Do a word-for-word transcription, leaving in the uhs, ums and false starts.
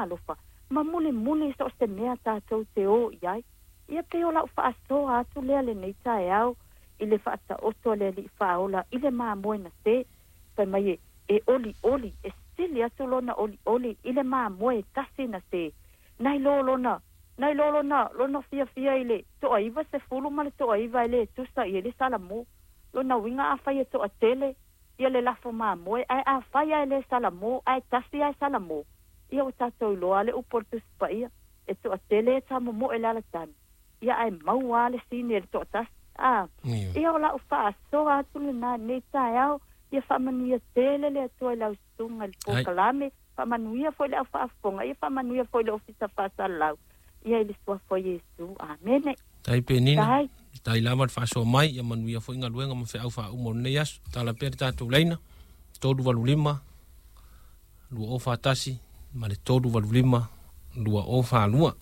alofa ma mulimuli so o se mea tatou te o i ai. Ia pei o la'u fa'asoa atu lea lenei taeao i le fa'ataoto a le Ali'i Fa'aola i le mamoe na se fai mai e e olioli e sili atu lona olioli i le mamoe tasi na se nai lo lona nai lo lona lona fiafia i le to'aiva sefulu ma le to'aiva e lē tusa i ai le salamo. Lona uiga afai e to'atele ia le lafo mamoe ae afai ae lē salamo ae tasi ae salamo, ia ua tatou iloa le upu o le Tusi Paia e to'atele e tamomo'e le alatagi ia ae maua le sini e le to'atasi a. Ia o la'u fa'asoa atu lenā nei taeao. Ia fa'amanuia tele le Atua i lau susuga i le polokalame, fa'amanuia foi le au fa'afofoga, ia fa'amanuia foi le ofisa fa'asalalau ia i le suafa o Iesu. Amene. Tai Penina, tai lava le fa'asoa mai, ia manuia foi galuega ma fe'au fa'auma o lenei aso. Tala pea le tatou laina, tolu valu lima, lua o fa'atasi, ma le tolu valu lima, lua o fa'alua.